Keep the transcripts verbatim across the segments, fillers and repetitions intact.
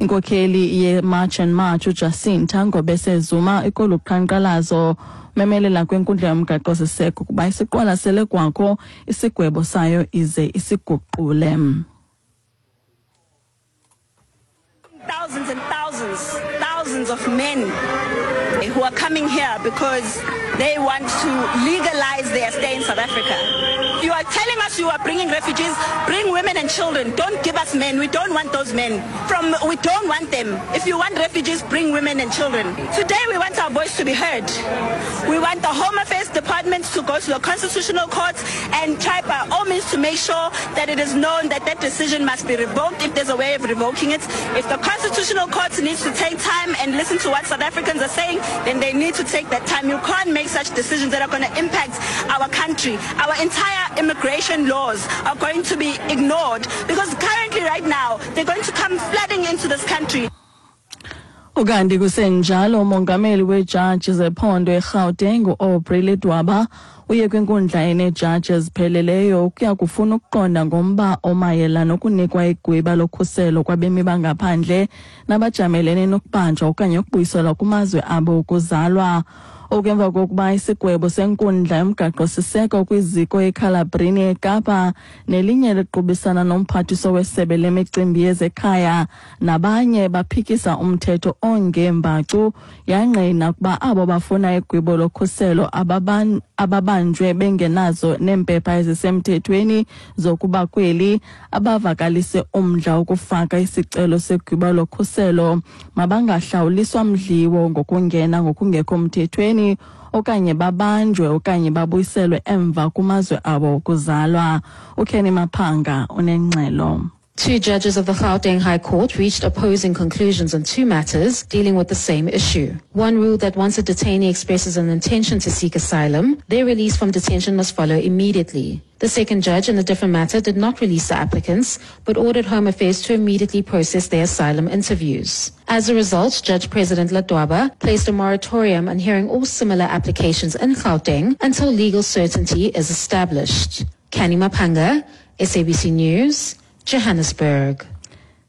Inkokheli ye-March and March uJacinta Ngobese Zuma ikolu qhankqalazo memelela kwinkundla yomgaqo-siseko ukuba isiqwalasele kwakho isigwebo sayo ize isiguqule. Thousands and thousands, thousands of men who are coming here because they want to legalize their stay in South Africa. You are telling us you are bringing refugees, bring women and children. Don't give us men. We don't want those men. From we don't want them. If you want refugees, bring women and children. Today we want our voice to be heard. We want the Home Affairs Department to go to the Constitutional Court and try by all means to make sure that it is known that that decision must be revoked if there's a way of revoking it. If the Constitutional Court needs to take time and listen to what South Africans are saying, then they need to take that time. You can't make such decisions that are going to impact our country. Our entire immigration laws are going to be ignored because currently right now they're going to come flooding into this country. Ukanti kusenjalo, umongameli wejaji zephondo eGauteng uAubrey Ledwaba uye kwinkundla eneejaji ezipheleleyo ukuya kufuna ukuqonda ngomba omayela nokunikwa igwiba lokhuselo kwabemi bangaphandle nabajamelene nokubanjwa okanye ukubuyiselwa kumazwe abo okuzalwa. Okwemva kokuba isigwebo senkundla yomgaqo-siseko kwiziko eCalabrini eKapa nelinye liqubisana nomphathiswa wesebe lemicimbi yezekhaya nabanye baphikisa umthetho ongembacu yangqina ukuba abo bafuna igwibo lokhuselo ababan ababanjwe bengenazo neempepha ezisemthethweni zokuba kweli abavakalise umdla wokufaka isicelo segwibo lokhuselo mabangahlawuliswa mdliwo ngokungena ngokungekho mthethweni okanye babanjwe okanye babuyiselwe emva kumazwe abo okuzalwa. uKenny Maphanga unengxelo. Two judges of the Gauteng High Court reached opposing conclusions on two matters dealing with the same issue. One ruled that once a detainee expresses an intention to seek asylum, their release from detention must follow immediately. The second judge in a different matter did not release the applicants, but ordered Home Affairs to immediately process their asylum interviews. As a result, Judge President Ledwaba placed a moratorium on hearing all similar applications in Gauteng until legal certainty is established. Kenny Mapanga, S A B C News, Johannesburg.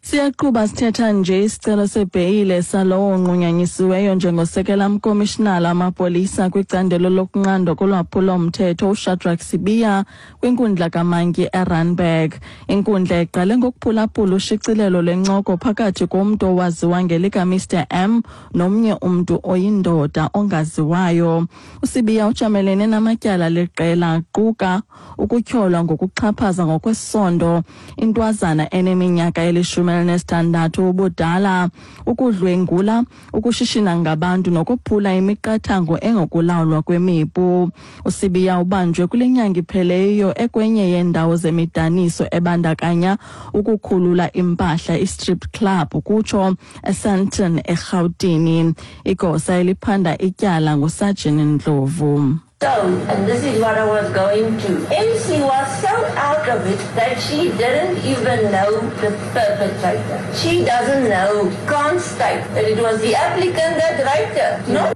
Siyaqhuba sithetha nje isicelo sebheyile salowo nqunyanyisiweyo njengosekela mkomishinala amapolisa kwicandelo lokunqandwa kolwaphulo-mthetho uShadrack Sibiya kwinkundla kaMantyi eRandburg. Inkundla iqale ngokuphulaphula ushicilelo lwencoko phakathi komntu owaziwa ngelika Mister M nomnye umntu oyindoda ongaziwayo. USibiya ujamelene namatyala leqela quka ukutyholwa ngokuxhaphaza ngokwesondo intwazana eneminyaka elishumi elinesithandathu ubudala, ukudlwengula, ukushishina ngabantu nokuphula imiqathango engokulawulwa kwemipu. USibiya ubanjwe kule nyanga ipheleyo ekwenye yeendawo zemidaniso ebandakanya ukukhulula impahla i-strip club kutsho eSandton eRhawutini. Igosa eliphanda ityala nguSergeant Ndlovu. So, and this is what I was going to. M C was so out of it that she didn't even know the perpetrator. She doesn't know, can't state that it was the applicant that raped her. No.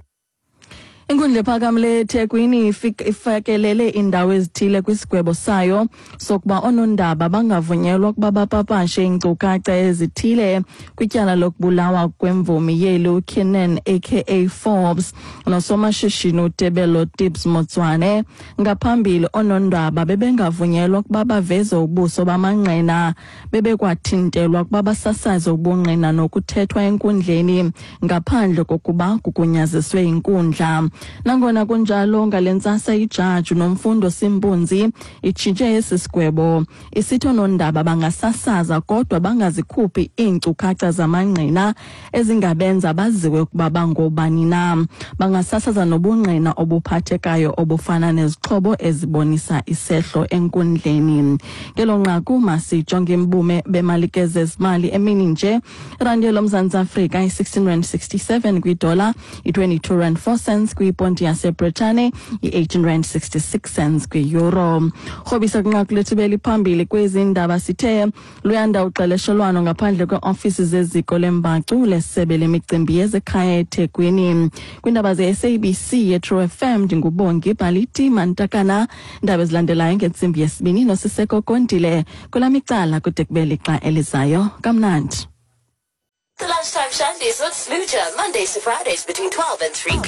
Inkundla ephakamileyo eThekwini ifakelele iindawo ezithile kwisigwebo sayo sokuba oonondaba bangavunyelwa ukuba bapapashe iinkcukacha ezithile kwityala lokubulawa kwemvumi yeli uKiernan aka Forbes nosomashishini uTebello Tibbs Motswane. Ngaphambili oonondaba bebengavunyelwa ukuba baveze ubuso bamangqina, bebekwathintelwa ukuba basasaze ubungqina nokuthethwa enkundleni ngaphandle kokuba kugunyaziswe inkundla. Nangona kunjalo, ngale ntsasa ijaji Nomfundo Simpunzi itshintshe esi sigwebo isithi oonondaba bangasasaza kodwa bangazikhuphi iinkcukacha zamangqina ezingabenza baziwe ukuba bangobani na. Bangasasaza nobungqina obuphathekayo obufana nezixhobo ezibonisa isehlo enkundleni. Ngelo nqaku masijonge imbume bemalike zezimali emini nje. Irandi loMzantsi Afrika i-sixteen rand sixty-seven kwidola, i-twenty-two rand four cents kwiponti yaseBritane, i-eighteen rand sixty-six cents kwi-euro. Rhobisa kwinqaku lethu beliphambili kwezi ndaba sithe luyanda uxeleshelwano ngaphandle kweeofisi zeziko lembacu lesebe lemicimbi yezekhaya eThekwini. Kwiindaba ze-S A B C yeTrue F M ndingubongi Bhaliti Mantakana. Iindaba ezilandelayo ngentsimbi yesibini noSiseko Kontile. Kwelam icala kude kube lixa elizayo. Kamnandi. Lunchtime Shandies with Smooja, Mondays to Fridays between twelve and three p m.